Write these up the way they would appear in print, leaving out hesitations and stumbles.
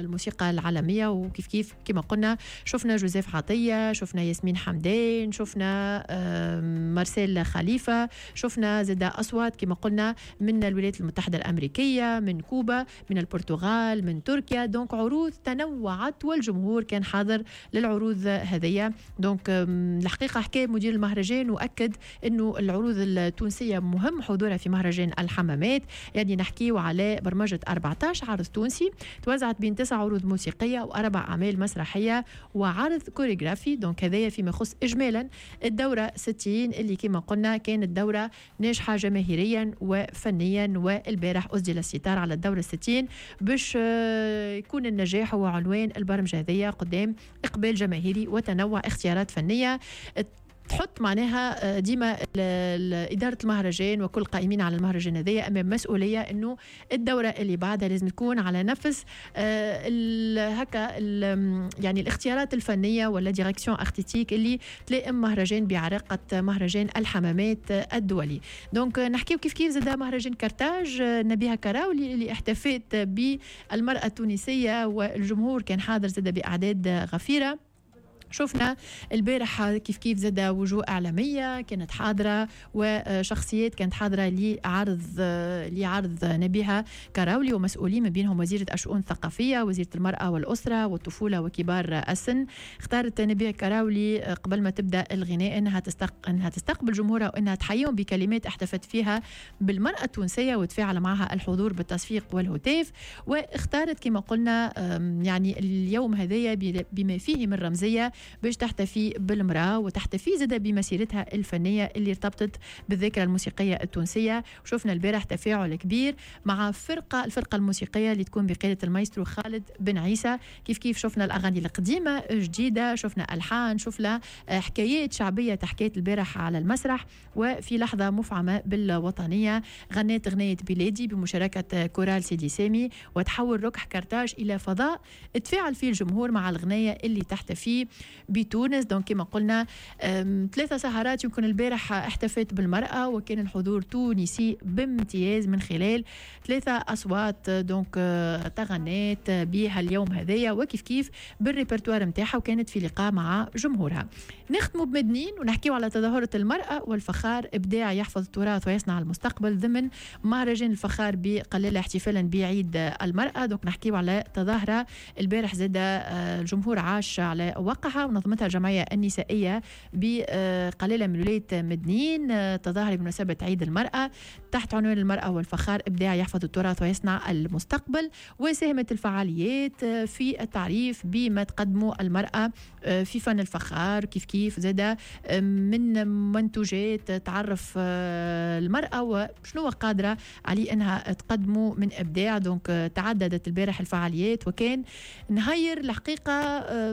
الموسيقى العالميه. وكيف كيف كما قلنا شفنا جوزيف عطيه، شفنا ياسمين حمدان، شفنا مارسيل خليفه، شفنا زاد اصوات كما قلنا من الولايات المتحدة الامريكيه، من كوبا، من البرتغال، من تركيا. donc عروض تنوعت والجمهور كان حاضر للعروض هذيا. donc الحقيقة حكى مدير المهرجان واكد انه العروض التونسية مهم حضورها في مهرجان الحمامات. يعني نحكيو على برمجة 14 عرض تونسي توزعت بين 9 عروض موسيقية واربع اعمال مسرحية وعرض كوريغرافي. donc هذايا فيما يخص اجمالا الدورة 60 اللي كما قلنا كانت دوره ناجحة جماهيريا وفنيا. والبارح اسدل الستار على الدورة 60 باش يكون النجاح هو عنوان البرمجة هذيا قدام اقبال جماهيري وتنوع اختيارات فنية تحط معناها ديما إدارة المهرجان وكل القائمين على المهرجان هذايا أمام مسؤولية أنه الدورة اللي بعدها لازم تكون على نفس هكا يعني الاختيارات الفنية ولا direction artistique اللي تلائم مهرجان بعراقة مهرجان الحمامات الدولي. donc نحكيو كيف كيف زاد مهرجان كرتاج، نبيهة كراولي اللي احتفت بالمرأة التونسية والجمهور كان حاضر زاد بأعداد غفيرة. شفنا البارح كيف كيف زاد وجوه إعلامية كانت حاضرة وشخصيات كانت حاضرة لعرض نبيهة كراولي ومسؤولين من بينهم وزيرة الشؤون الثقافية، وزيرة المرأة والأسرة والطفولة وكبار السن. اختارت نبيهة كراولي قبل ما تبدأ الغناء أنها تستقبل جمهورها وأنها تحييهم بكلمات احتفت فيها بالمرأة التونسية وتفاعل معها الحضور بالتصفيق والهتاف. واختارت كما قلنا يعني اليوم هذايا بما فيه من رمزية باش تحتفي بالمرأة وتحتفي زادة بمسيرتها الفنية اللي ارتبطت بالذاكرة الموسيقية التونسية. وشفنا البارح تفاعل كبير مع الفرقة الموسيقية اللي تكون بقيادة المايسترو خالد بن عيسى. كيف كيف شفنا الأغاني القديمة جديدة، شفنا ألحان، شفنا حكايات شعبية تحكيت البارح على المسرح. وفي لحظة مفعمة بالوطنية غنيت أغنية بلادي بمشاركة كورال سيدي سامي، وتحول ركح كرتاج إلى فضاء تفاعل فيه الجمهور مع الغنية اللي تحتفي بتونس. donc كما قلنا 3 سهرات يمكن البارح احتفت بالمرأة وكان الحضور تونسي بامتياز من خلال 3 أصوات donc تغنت بها اليوم هذايا وكيف كيف بالريpertoire نتاعها، وكانت في لقاء مع جمهورها. نختموا بمدنين ونحكيو على تظاهرة المرأة والفخار، إبداع يحفظ التراث ويصنع المستقبل ضمن مهرجان الفخار بقلالة احتفالا بعيد المرأة. donc نحكيو على تظاهرة البارح زاد الجمهور عاش على وقعها ونظمتها الجمعية النسائية بقلالة من ولاية مدنين، تظاهرة بمناسبة عيد المرأة تحت عنوان المرأة والفخار، إبداع يحفظ التراث ويصنع المستقبل. وساهمت الفعاليات في التعريف بما تقدمه المرأة في فن الفخار، كيف كيف زاد من منتوجات تعرف المرأة وشنو قادرة عليه أنها تقدمه من إبداع. donc تعددت البارح الفعاليات وكان نهير الحقيقة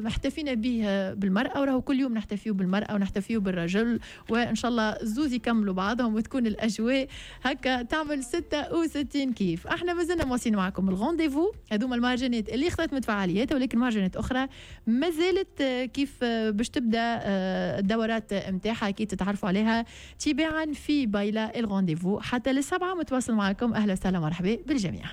احتفينا به بالمرأة، وراهو كل يوم نحتفيه بالمرأة ونحتفيه بالرجل، وإن شاء الله زوز يكملوا بعضهم وتكون الأجواء هكا تعمل 66 كيف. احنا مازلنا مواصلين معكم ال rendez-vous، هذوما المهرجانات اللي اختتمت فعالياتها، ولكن مهرجانات أخرى ما زالت كيف باش تبدا الدورات نتاعها اكيد تتعرفوا عليها تباعا في بايلا ال rendez-vous حتى للسبعة متواصل معكم. اهلا وسهلا ومرحبا بالجميع.